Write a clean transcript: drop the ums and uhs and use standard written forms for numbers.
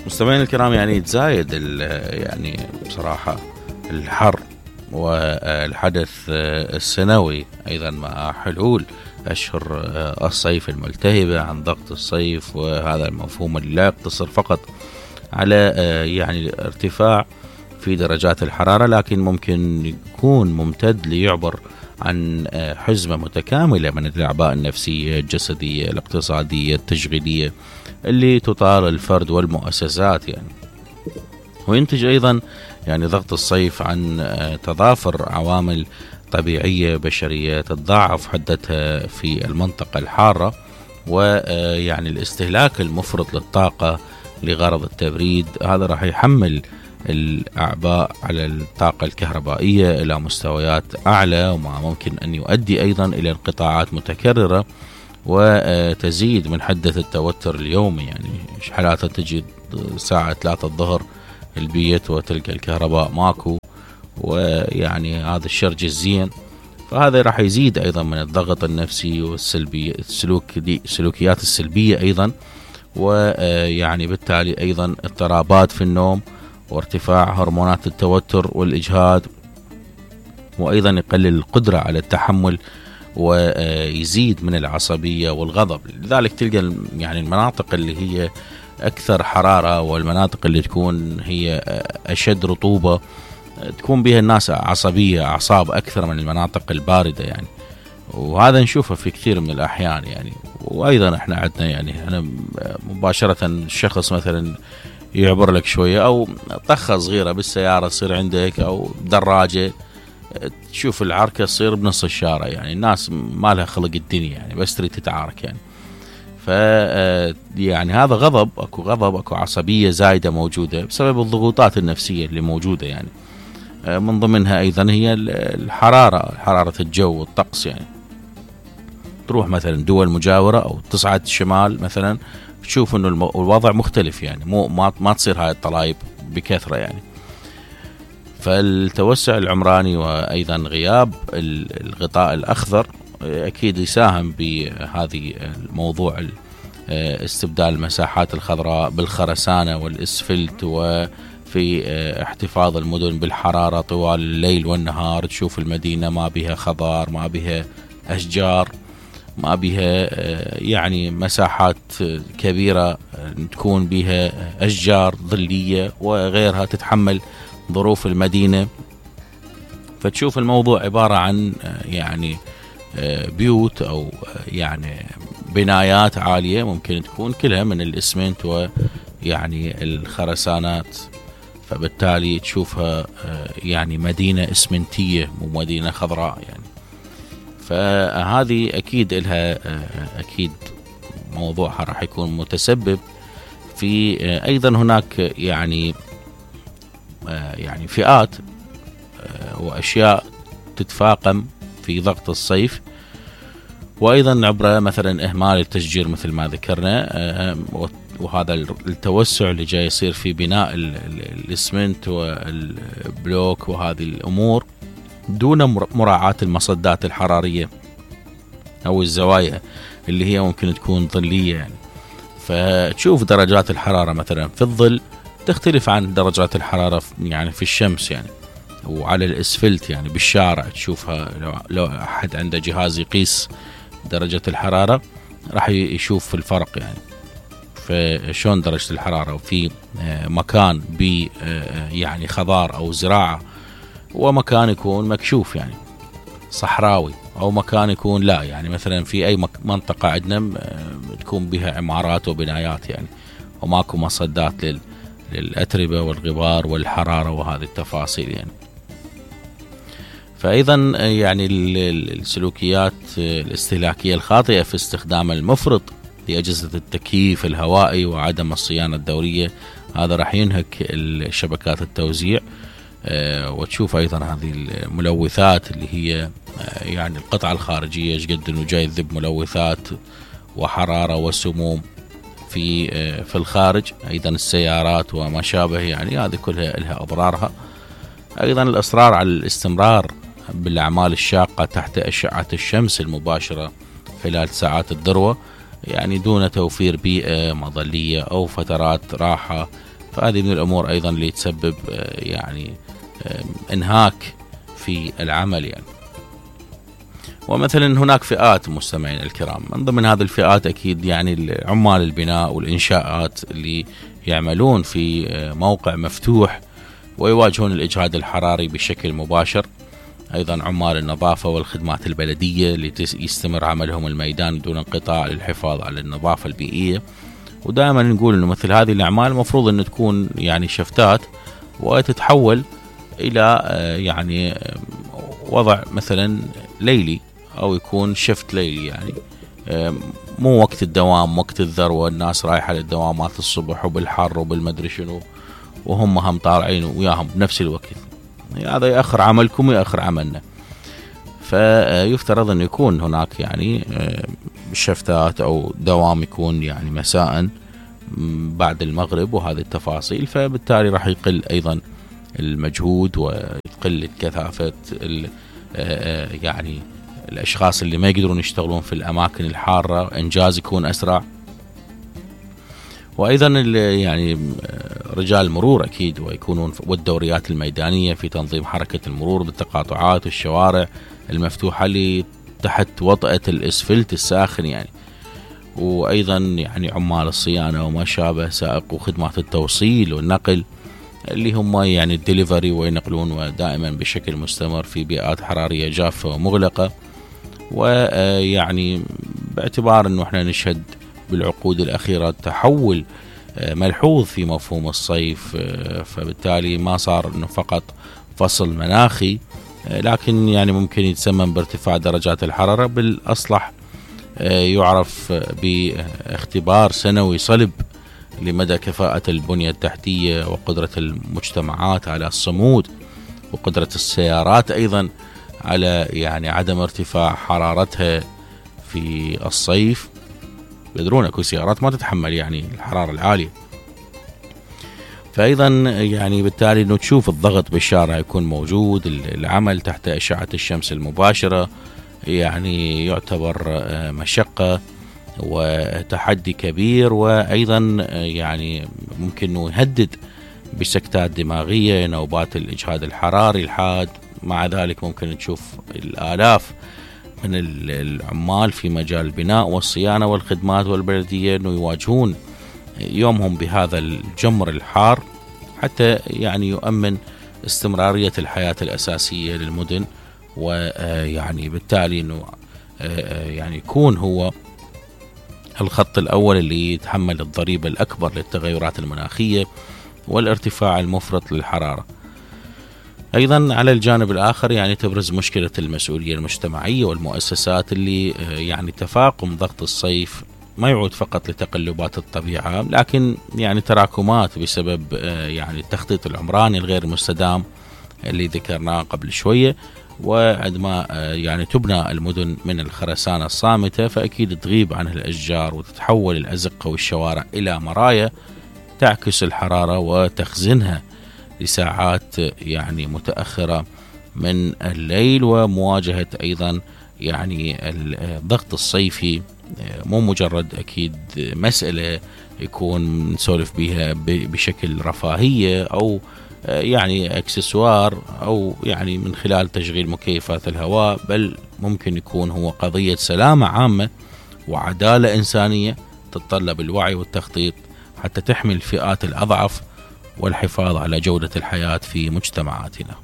مستمعين الكرام، يعني يتزايد يعني بصراحة الحر والحدث السنوي أيضا مع حلول أشهر الصيف الملتهبة عن ضغط الصيف، وهذا المفهوم اللي لا يقتصر فقط على يعني ارتفاع في درجات الحرارة، لكن ممكن يكون ممتد ليعبر عن حزمة متكاملة من الأعباء النفسية الجسدية الاقتصادية التشغيلية اللي تطال الفرد والمؤسسات يعني. وينتج أيضا يعني ضغط الصيف عن تضافر عوامل طبيعية بشرية تتضاعف حدتها في المنطقة الحارة، ويعني الاستهلاك المفرط للطاقة لغرض التبريد هذا راح يحمل الأعباء على الطاقة الكهربائية إلى مستويات أعلى، وما ممكن أن يؤدي أيضا إلى انقطاعات متكررة وتزيد من حدة التوتر اليومي. يعني حالات تجي ساعة 3 الظهر البيت وتلقى الكهرباء ماكو، ويعني هذا الشرج الزين، فهذا راح يزيد أيضا من الضغط النفسي والسلبي السلوكيات السلبية أيضا، ويعني بالتالي أيضا اضطرابات في النوم وارتفاع هرمونات التوتر والإجهاد، وأيضا يقلل القدرة على التحمل ويزيد من العصبية والغضب. لذلك تلقى يعني المناطق اللي هي أكثر حرارة والمناطق اللي تكون هي أشد رطوبة تكون بها الناس عصبية أعصاب أكثر من المناطق الباردة يعني، وهذا نشوفه في كثير من الأحيان يعني. وأيضا احنا عندنا يعني أنا مباشرة الشخص مثلا يعبر لك شوية أو طخة صغيرة بالسيارة تصير عندك أو دراجة، تشوف العركة تصير بنص الشارع، يعني الناس ما لها خلق الدنيا يعني بس تريد تتعارك يعني. يعني هذا غضب، اكو عصبية زايدة موجودة بسبب الضغوطات النفسية اللي موجودة يعني. من ضمنها ايضا هي حرارة الجو والطقس يعني. تروح مثلا دول مجاورة او تصعد الشمال مثلا تشوف انه الوضع مختلف يعني، ما تصير هاي الطلايب بكثرة يعني. فالتوسع العمراني وايضا غياب الغطاء الاخضر اكيد يساهم بهذه الموضوع، استبدال المساحات الخضراء بالخرسانة والاسفلت، وفي احتفاظ المدن بالحرارة طوال الليل والنهار. تشوف المدينة ما بها خضار، ما بها اشجار، ما بها يعني مساحات كبيرة تكون بها اشجار ظلية وغيرها تتحمل ظروف المدينة. فتشوف الموضوع عبارة عن يعني بيوت أو يعني بنايات عالية ممكن تكون كلها من الإسمنت ويعني الخرسانات، فبالتالي تشوفها يعني مدينة إسمنتية مو مدينة خضراء يعني. فهذه أكيد لها أكيد موضوعها راح يكون متسبب في أيضا هناك يعني فئات وأشياء تتفاقم في ضغط الصيف، وأيضا عبر مثلا إهمال التشجير مثل ما ذكرنا، وهذا التوسع اللي جاي يصير في بناء الإسمنت والبلوك وهذه الأمور دون مراعاة المصدات الحرارية أو الزوايا اللي هي ممكن تكون ظلية يعني. فتشوف درجات الحرارة مثلا في الظل تختلف عن درجات الحرارة يعني في الشمس يعني، وعلى الاسفلت يعني بالشارع تشوفها. لو احد عنده جهاز يقيس درجة الحرارة راح يشوف الفرق يعني. فشون درجة الحرارة وفي مكان يعني خضار او زراعة، ومكان يكون مكشوف يعني صحراوي، او مكان يكون لا يعني مثلا في اي منطقة عندنا تكون بها عمارات وبنايات يعني، وماكو مصدات للأتربة والغبار والحرارة وهذه التفاصيل يعني. فأيضا يعني السلوكيات الاستهلاكية الخاطئة في استخدام المفرط لأجهزة التكييف الهوائي وعدم الصيانة الدورية، هذا راح ينهك شبكات التوزيع. وتشوف أيضا هذه الملوثات اللي هي يعني القطعة الخارجية ايش قد انه جاي يذب ملوثات وحرارة وسموم في الخارج، أيضا السيارات وما شابه يعني، هذه كلها لها أضرارها. أيضا الإصرار على الاستمرار بالأعمال الشاقة تحت أشعة الشمس المباشرة خلال ساعات الذروة يعني دون توفير بيئة مظلية أو فترات راحة فهذه من الأمور أيضا اللي تسبب يعني انهاك في العمل يعني. ومثلا هناك فئات مستمعين الكرام، من ضمن هذه الفئات أكيد يعني عمال البناء والإنشاءات اللي يعملون في موقع مفتوح ويواجهون الإجهاد الحراري بشكل مباشر. أيضا عمال النظافة والخدمات البلدية اللي يستمر عملهم الميدان دون انقطاع للحفاظ على النظافة البيئية. ودائما نقول أنه مثل هذه الأعمال المفروض أن تكون يعني شفتات وتتحول إلى يعني وضع مثلا ليلي، أو يكون شفت ليلي يعني، مو وقت الدوام وقت الذروة الناس رايحة للدوامات الصبح وبالحر وبالمدري شنو وهم هم طالعين وياهم بنفس الوقت. هذا يأخر عملكم ويأخر عملنا. فيفترض أن يكون هناك يعني شفتات أو دوام يكون يعني مساء بعد المغرب وهذه التفاصيل، فبالتالي راح يقل أيضا المجهود ويقل كثافة يعني الأشخاص اللي ما يقدرون يشتغلون في الأماكن الحارة، إنجاز يكون أسرع. وأيضا يعني رجال المرور أكيد ويكونون والدوريات الميدانية في تنظيم حركة المرور بالتقاطعات والشوارع المفتوحة اللي تحت وطأة الإسفلت الساخن يعني. وأيضا يعني عمال الصيانة وما شابه، سائق وخدمات التوصيل والنقل اللي هم يعني الدليفري وينقلون ودائما بشكل مستمر في بيئات حرارية جافة ومغلقة. ويعني باعتبار أنه احنا نشهد بالعقود الأخيرة تحول ملحوظ في مفهوم الصيف، فبالتالي ما صار أنه فقط فصل مناخي، لكن يعني ممكن يتسمم بارتفاع درجات الحرارة. بالأصلح يعرف باختبار سنوي صلب لمدى كفاءة البنية التحتية وقدرة المجتمعات على الصمود، وقدرة السيارات أيضا على يعني عدم ارتفاع حرارتها في الصيف. يدرون اكو سيارات ما تتحمل يعني الحرارة العالية. فأيضا يعني بالتالي انه تشوف الضغط بالشارع يكون موجود، العمل تحت أشعة الشمس المباشرة يعني يعتبر مشقة وتحدي كبير، وأيضا يعني ممكن انه يهدد بسكتات دماغية، نوبات الإجهاد الحراري الحاد. مع ذلك ممكن تشوف الآلاف من العمال في مجال البناء والصيانة والخدمات والبلدية انه يواجهون يومهم بهذا الجمر الحار حتى يعني يؤمن استمرارية الحياة الأساسية للمدن. ويعني بالتالي انه يعني يكون هو الخط الأول اللي يتحمل الضريبة الأكبر للتغيرات المناخية والارتفاع المفرط للحرارة. أيضا على الجانب الآخر يعني تبرز مشكلة المسؤولية المجتمعية والمؤسسات اللي يعني تفاقم ضغط الصيف ما يعود فقط لتقلبات الطبيعة، لكن يعني تراكمات بسبب يعني التخطيط العمراني الغير مستدام اللي ذكرناه قبل شوية. وعندما يعني تبنى المدن من الخرسانة الصامتة فأكيد تغيب عنها الأشجار وتتحول الأزقة والشوارع إلى مرايا تعكس الحرارة وتخزنها لساعات يعني متأخرة من الليل. ومواجهة أيضا يعني الضغط الصيفي مو مجرد أكيد مسألة يكون نسولف بها بشكل رفاهية أو يعني اكسسوار أو يعني من خلال تشغيل مكيفات الهواء، بل ممكن يكون هو قضية سلامة عامة وعدالة إنسانية تتطلب الوعي والتخطيط حتى تحمي الفئات الأضعف والحفاظ على جودة الحياة في مجتمعاتنا.